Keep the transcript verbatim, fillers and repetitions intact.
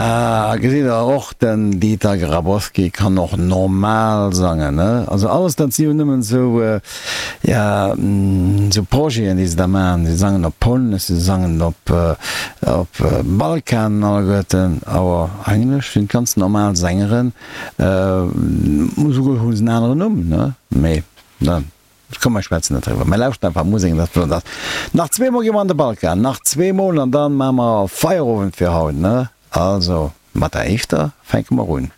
Ah, gesitt der, och den Dieter Grabowski kann och normal sangen, ne? Also alles dat si jo nëmmen esou, ja, esou Projeten, déi se da maachen. Si sangen op Polnesch, si sangen op, op Balkan alleguerten, awer eigentlech sinn et ganz normal Sängeren. Esouguer hu se en aneren Numm, ne? Mee, ne? Komm mer schwätzen net driwwer, mer lauschten einfach Musek an dat flott ass. Nach zwee mol gi mer an de Balkan, nach zwee mol an dann maache mer Feierowend fir haut, ne? Also mat der éischter fänke mer un.